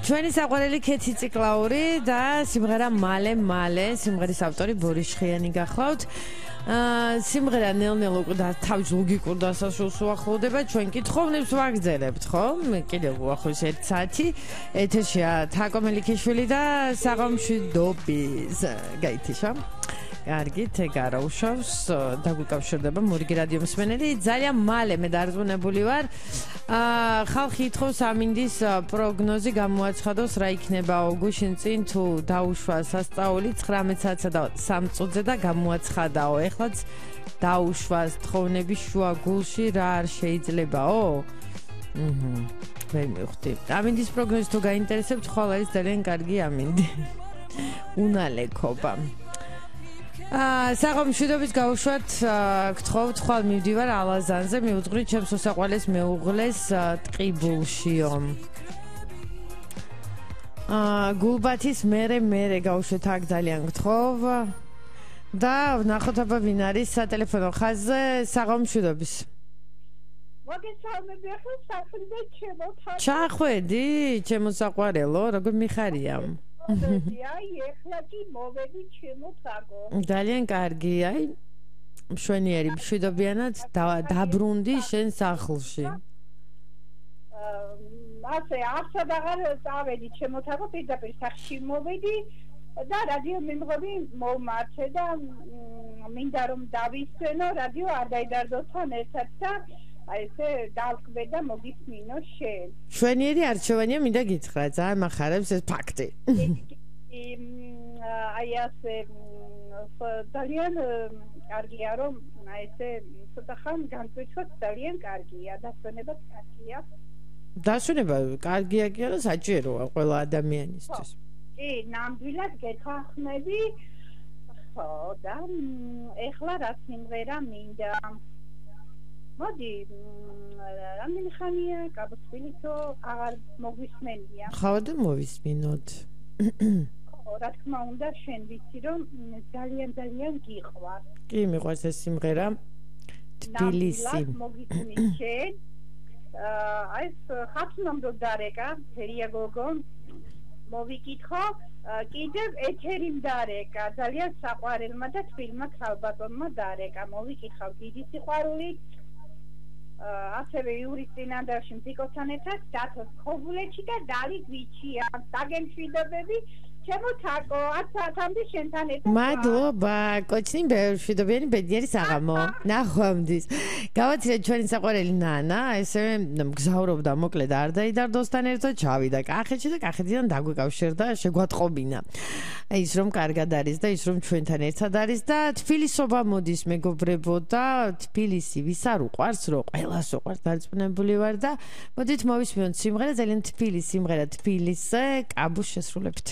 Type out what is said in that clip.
ჩვენი საყვარელი ქეთი ციკლაური და სიმღერა მალე სიმღერის ავტორი ბორის შხიანი გახლავთ. სიმღერა ნელ-ნელა და თავის ლოგიკურ დასასრულს უახლოვდება. ჩვენ კითხვებს ვაგრძელებთ, ხო? კიდევ უახლოეს 1 საათი. ეთერშია თაკო მელიქიშვილი და საღამშვიდობის. გაითიშა. კარგით, ეგარა უშავს, დაგვიკავშირდება მორიგი რადიო მსმენელი. ძალიან მალე მე დარწმუნებული ვარ. ხალხი ითხოვს ამინდის პროგნოზი გამოაცხადოს რა იქნება აუგუშტის წინ თუ დაუშვა სასწაული 19 საათსა და 3 წუთზე და გამოაცხადაო. ეხლაც დაუშვას თხოვნების შუა გულში რა არ შეიძლებაო? ვერ მივხვდი. ამინდის პროგნოზი თუ გაინტერესებთ, ხვალ არის ძალიან კარგი ამინდი. უნალეკობა. საღამშვიდობის გავუშვათ, გთხოვთ, ხვალ მივდივარ ალაზანზე, მიუძღვრით ჩემს უსაყვარლეს მეუღლეს ტყიბულშიო. გულბათის მერე გავუშვათ აქ ძალიან გთხოვ და ვნახოთ აბა ვინ არის სატელეფონო ხაზზე. საღამშვიდობის. მოგესალმები, ახლა საქმე ჩემო თან. ჩახვედი, ჩემო საყვარელო, როგორ მიხარია? აი, ეხლა კი მოვედი ჩემო თაკო. ძალიან კარგი, აი, მშვენიერი, მშვიდობიანად დაბრუნდი შენ სახლში. ასე, არსად აღარ წავედი ჩემო თაკო, პირდაპირ სახლში მოვედი და რადიო მიმღები მოვმართე და მინდა რომ დავისვენო, რადიო არ დაიდარდო თან ერთად და აი ესე დავკვე და მოგისმინო შენ. მშვენიერი არჩევანია, მინდა გითხრა, ძალიან მახარებს ეს ფაქტი. აი ასე ძალიან კარგია რომ აი ესე ცოტა ხან განკვეთოთ, ძალიან კარგია, დასვენებაც კარგია. დასვენება კარგია კი არა, საჭიროა ყველა ადამიანისთვის. კი, ნამდვილად გეთანხმები. ხო, და ეხლა რა სიმღერა მინდა? მოდი, რამდენი ხანია გაბოსვილითო აღარ მოგვისმენია. ხავა და მოვისმინოთ. ხო, რა თქმა უნდა, შენ ვიცი რომ ძალიან გიყვარ. კი, მიყვარს ეს სიმღერა. თბილისი. მოგისმის შენ. აი ეს ხათუნამდე დარეკა, ფერია გოგო. მოვიკითხო, კიდევ ეთერი მდარეკა, ძალიან საყვარელმა და თბილმა ქალბატონმა დარეკა. მოვიკითხავ დიდი სიყვარულით. ასევე იურის წინანდალში მზიკოსთან ერთად დათოს ხობულეთში და დალი გვიჩია. საგემშვიდობები, ჩემო თაკო, 10 საათამდე შენთან ერთად. მადლობა, კოჩნი მშვიდობიანი ბედნიერი საღამო. ნახვამდის. გავაცილეთ ჩვენი საყვარელი ნანა, ესე მგზავრობდა მოკლედ არ დაიდარდოსთან ერთად, ჩავიდა კახეთში და კახეთიდან დაგვიკავშირდა, შეგვატყობინა. ის რომ კარგად არის და ის რომ ჩვენთან ერთად არის და თბილისობა მოდის მეგობრებო და თბილისი ვის არ უყვარს, რო ყველას უყვარს, დარწმუნებული ვარ და მოდით მოვისმინოთ სიმღერა, ძალიან თბილი სიმღერა თბილისზე, კაბუს შესრულებით.